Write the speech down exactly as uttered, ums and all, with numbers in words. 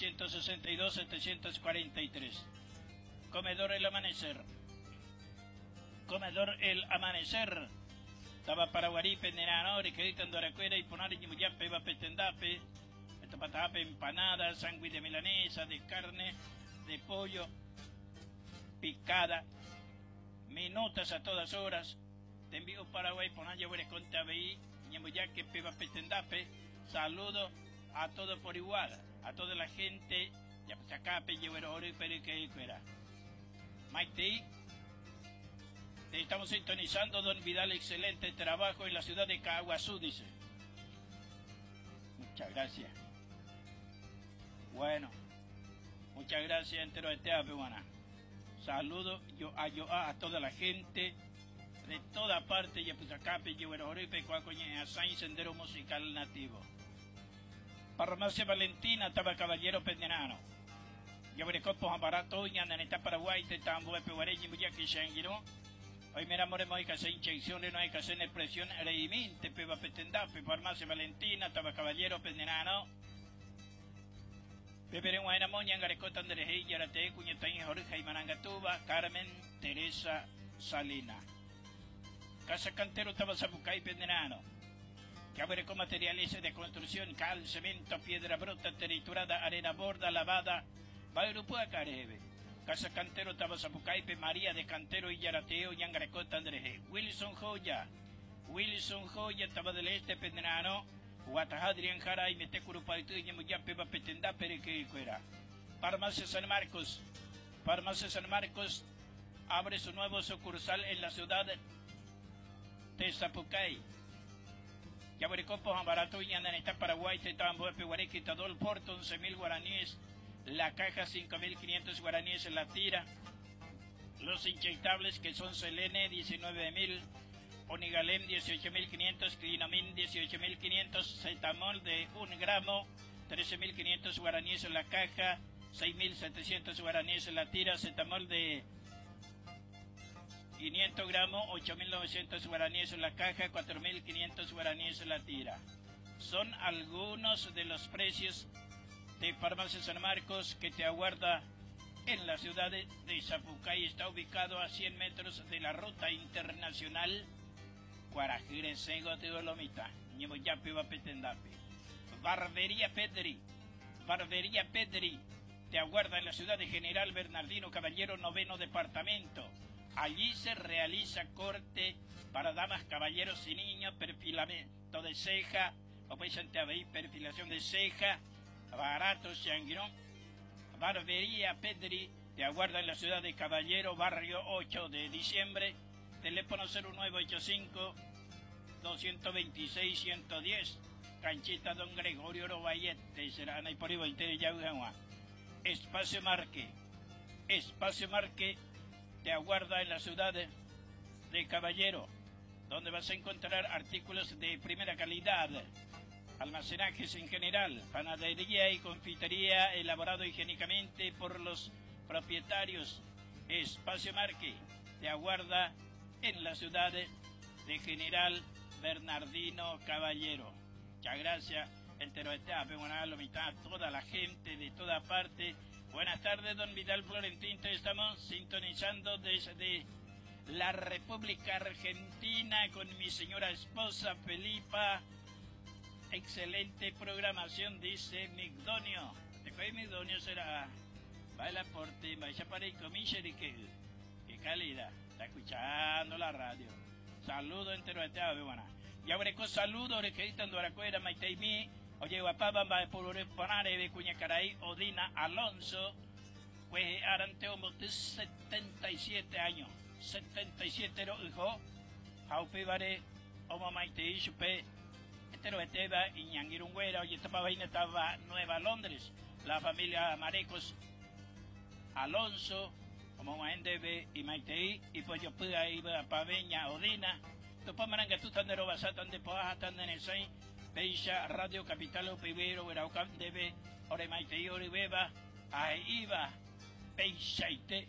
trescientos sesenta y dos setecientos cuarenta y tres. Comedor El Amanecer. Comedor El Amanecer. Taba Paraguarí, Penderano, Requerita, Andoracuera y Ponari, Ñimuyape, Bapetendape, Etapatape, empanada, sándwich de milanesa, de carne, de pollo, picada, minutas a todas horas. Te envío Paraguay, Ponaya, Huereconte, A B I, Ñimuyaque, Peba, Petendape. Saludo a todo por igual, a toda la gente, Yapuchacape, Yehuero, Oro y Periqueicuera. Maite, te estamos sintonizando, don Vidal, excelente trabajo en la ciudad de Caaguazú, dice. Muchas gracias. Bueno, muchas gracias, entero de Tea, peruana. Saludo yo a, yo a, a toda la gente de toda parte, Yapuchacape, Yehuero, Oro y Pecuacoñe, Azain, Sendero Musical Nativo. Farmacia Valentina, Taba Caballero Pendenano. Yabrecopo, Barato, Ñandaneta, Paraguay, Tetambo, Epeguareñi, Muyaqui, Xanguiró. Hoy mira, more, hay que hacer inyecciones, no hay que hacer expresión, Reimín, Tepeba, Petendape, Farmacia Valentina, Taba Caballero Pendenano. Pepe Guayna Moña, Angarecota, Andrés, Yarate, Cuñetaín, Jorge, y Marangatuba, Carmen, Teresa, Salina. Casa Cantero, Taba Zapucay, Pendenano. Cabre con materiales de construcción, cal, cemento, piedra bruta, triturada, arena borda, lavada, Bairupua, Carebe. Casa Cantero, Taba Zapucaipe, María de Cantero y Yarateo, Yangarecota, Andrés. Wilson Joya, Wilson Joya, Taba del Este, Pendenano, Guatajadrián Jara y Metecurupaitu y Ñemuyape, Bapetendá, Perequecuera. Farmacia San Marcos, Farmacia San Marcos abre su nuevo sucursal en la ciudad de Zapucay. Yabricopo, Barato, Ñandaneta, Paraguay, Tetambo, Peguareque, Tadol, Porto, once mil guaraníes, la caja cinco mil quinientos guaraníes en la tira, los inyectables que son Selene diecinueve mil, Onigalem dieciocho mil quinientos, Clinomin dieciocho mil quinientos, Cetamol de un gramo trece mil quinientos guaraníes en la caja, seis mil setecientos guaraníes en la tira, Cetamol de quinientos gramos, ocho mil novecientos guaraníes en la caja, cuatro mil quinientos guaraníes en la tira. Son algunos de los precios de Farmacia San Marcos que te aguarda en la ciudad de, de Zapucay. Está ubicado a cien metros de la ruta internacional Cuarajirense, Teolomita, Ñemoyape, Bapetendape. Barbería Pedri, Barbería Pedri te aguarda en la ciudad de General Bernardino Caballero, noveno departamento. Allí se realiza corte para damas, caballeros y niños, perfilamiento de ceja, o puede ser perfilación de ceja, barato, changuirón. Barbería Pedri te aguarda en la ciudad de Caballero, barrio ocho de diciembre, teléfono cero nueve ocho cinco, doscientos veintiséis, ciento diez, Canchita Don Gregorio Robayete, será Ana y por ahí, Espacio Marque, Espacio Marque te aguarda en la ciudad de, de Caballero, donde vas a encontrar artículos de primera calidad, almacenajes en general, panadería y confitería elaborado higiénicamente por los propietarios. Espacio Marque te aguarda en la ciudad de General Bernardino Caballero. Muchas gracias, entero este, buena la mitad, toda la gente de toda parte. Buenas tardes, don Vidal Florentín, te estamos sintonizando desde la República Argentina con mi señora esposa Felipa. Excelente programación, dice Migdonio. ¿De qué Migdonio será? Baila por ti, vaya para el comiche de que, qué calidad. Está escuchando la radio. Saludo entero de Tea, buena. Y ahora con saludo, requerita Andoracuera, Maiteimi, Oye, guapaba, va por Ponare, de Cuñacaray, Odina Alonso, pues Aranteo de setenta y siete años, setenta y siete hijo, Jaupibare, Oma Maite, Chupe, Etero Eteba, Iñanguirungüera, oye, esta vaina estaba Nueva Londres, la familia Marecos Alonso, como Maendebe y Maitei, y pues yo pude ir a Paveña, Odina, Tupamaranga, Tutandero, Basatan de Poaja, Tandenesai, Beisha, Radio Capital, Upibero, Veraucam, Debe, Oremaitei, Oribeba, Aiba, Beishaite.